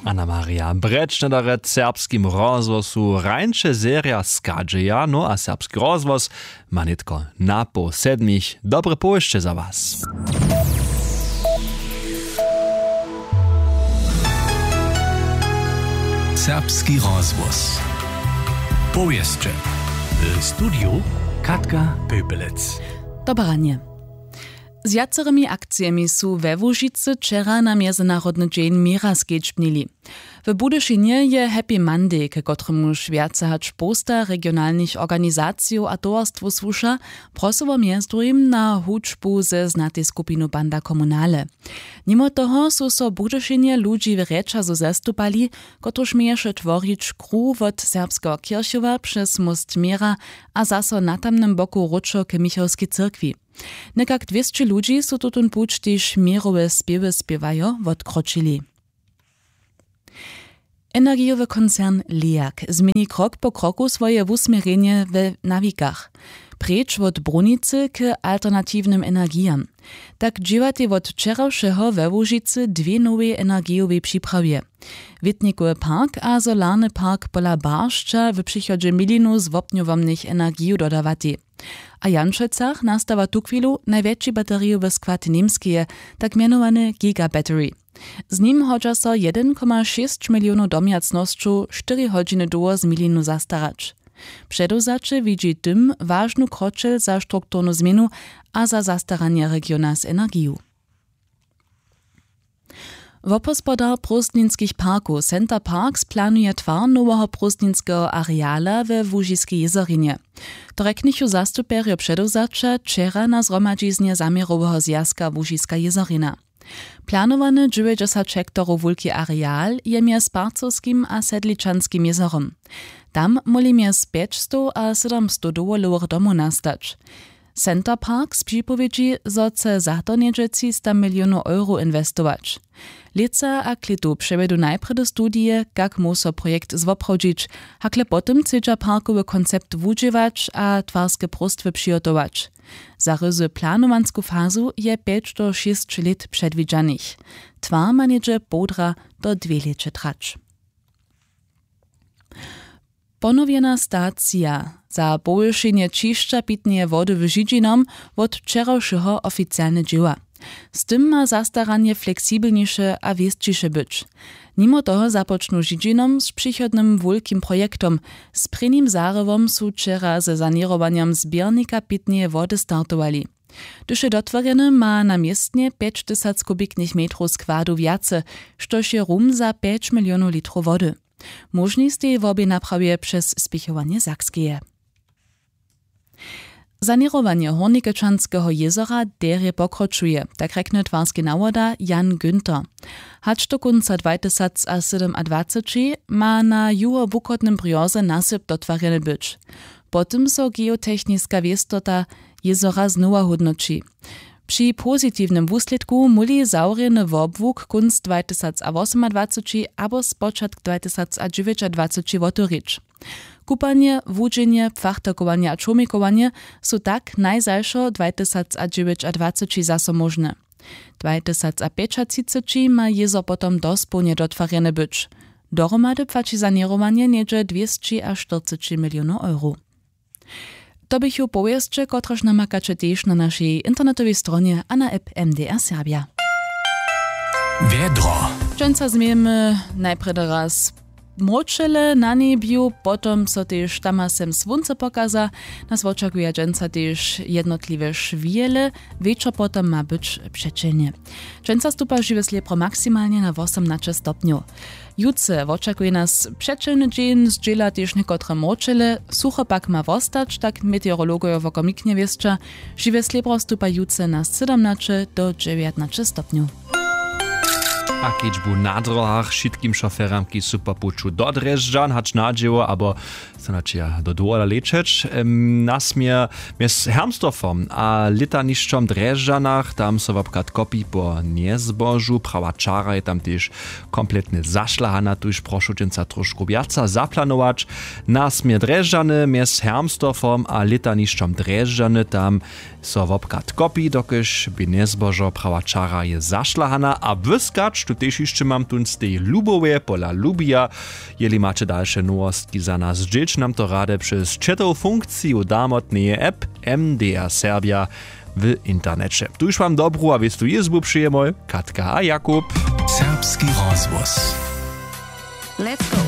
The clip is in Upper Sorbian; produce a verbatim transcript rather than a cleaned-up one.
Anna Maria Brečneder w serbskim rozhłosu rańše serja schadźeja, no a serbski rozhłos ma nětko na poł sedmich. Dobre powěsće za was. Serbski rozhłos. Powěsće. W studiju Katka Pöpelec. Dobre ranje. Z wjacorymi akcijemi su we Łužicy wčera na Mjezynarodny dźeń měra skedźbnili. W Budyšinje je Happy Monday, k kotremuž wjace hač połsta regionalnych organizacijow a towarstwow słuša, prosyło mjez druhim na hudźbu ze znatej skupinu Banda Komunale. Nimo toho su so w Budyšinje ludźi w rjećazu zastupali, kotryž měješe tworić kruh wot Serbskeho kěrchowa přez móst měra a zaso na tamnym boku wróćo k michałskej cyrkwi. Někak dwěsći ludźi su tutón puć, kiž měrowe spěwy spěwajo, wotkročili. Energijowy koncern Leag změni krok po kroku swoje wusměrjenje we nawikach. Preč wot brunicy k alternatiwnym energijam. Tak dźěłatej wot wčerawšeho we Łužicy dwě nowej energijowej připrawy. Wětnikowy park a solarny park pola Baršća w přichodźe milinu z wopnjowomnych energijow dodawatej. A w Janšecach nastawa tuchwilu najwjetši baterijowy skład Němskeje, tak mjenowany Giga Battery. Z nim hodźa so jedyn koma šěsć milionow domjacnosćow štyri hodźiny dołho z milinu zastarać. Předewzaće widźi tym wažnu kroćel za strukturnu změnu a za zastaranje regiona z energiju. Wopospodar prózdninskich parkow Center Parks planuje twar noweho prózdninskeho areala we Łužiskej jězorinje. To rjeknychu zastupjerjo předewzaća wčera na zhromadźiznje zaměroweho zwjazka Łužiska jězorina. Planowany dźewjećdźesat hektarow wulki areal je mjez Parcowskim a Sedličanskim jězorom. Tam móhli mjez pjećstow a sydomstow dowolowych domow nastać. Center Parks připowědźi, zo chce za to něhdźe třista milionow eurow inwestować. Lětsa a klětu přewjedu najprjedy studije, kak móhł so projekt zwoprawdźić, hakle potom chcedźa parkowy koncept wudźěłać a twarske próstwy přihotować. Za ryzy planowansku fazu je pjeć do šěsć lět předwidźanych. Twar ma něhdźe połdra do dwě lěće trać. Ponowjena stacija za powyšenje ćišća pitneje wody w Židźinom wot wčerawšeho oficialnje dźěła. Z tym ma zastaranje fleksibelniše a wěsćiše być. Nimo toho započnu Židźinom z přichodnym wulkim projektom, z prěnim zarjewom su wčera ze saněrowanjom zběrnika pitneje wody startowali. Hdyž je dotworjeny, ma na městnje pjećtysac kubiknych metrow składu wjace, štož je rum za pjeć milionow litrow wody. Móžni stej wobě naprawje přez spěchowanje Sakskeje. Saněrowanje Hórnikečanskeho jězora derje pokročuje, tak rjekny twarski nawoda Jan Günther. Hač do kónca dwajtysacsydomadwaceći ma na juhobuchodnym brjoze nasyp dotwarjeny być. Potom so geotechniska wěstota jězora znowa hódnoći. Při pozitiwnym wuslědku móhli zawrjeny wobłuk kónc dwajtysacawosomadwaceći abo spočatk dwajtysaca dźewjećadwaceći wotewrić. Kupanje, wudźenje, płachtakowanje a čołmikowanje su tak najzašo dwajtysacaćiwjećadwaceći zaso móžne. Dwajtysacapjećatřiceći ma jězor potom dospołnje dotwarjeny być. Dohromady płaći saněrowanje něhdźe dwěsći a štyrceći milionow eurow. To běchu powěsće, kotrež namakaće tež na našej internetowej stronje a na app M D R Serbja. Wjedro. Dźensa změjemy najprjedy raz mróčele na njebju, potom so tež tam a sem słónce pokaza. Nas wočakuja dźensa tež jednotliwe šwjele, wječor potom ma być přećelnje. Dźensa stupa žiwe slěpro maksimalnje na wosomnaće stopnjow. Jutře wočakuje nas přećelny dźeń, zdźěla tež někotre mróčele, sucho pak ma wostać, tak meteorologojo wokomiknje wěsća. Žiwe slěbro stupa jutře na sydomnaće do dźewjatnaće stopnjow. A kedźbu na drohach wšitkim šoferam, kiž su po puću do Drježdźan hač na dźěło abo so načeja do dowola lećeć, em, nasměr mjez Hermsdorfom a lětanišćom w Drježdźanach, tam so wobchad kopi po njezbožu. Prawa čara je tam tež kompletnje zašlahana, tuž prošu dźensa trošku wjaca zaplanować. Na směr Drježdźany mjez Hermsdorfom a lětanišćom Drježdźany, tam so wobchad kopi, dokelž bě njezbožo, prawa čara je zašlahana a błyskać tu Tež hišće mam tón z tej lubowje pola lubija. Jeli maće dalše nowostki za nas dźěć nam to rady přez četow funkciju damotneje app, mdr serbja, w interneće. Tuž wam dobru a wěstu jězbu přejemoj, katka a jakub. Serbski rozhłos. Let's go.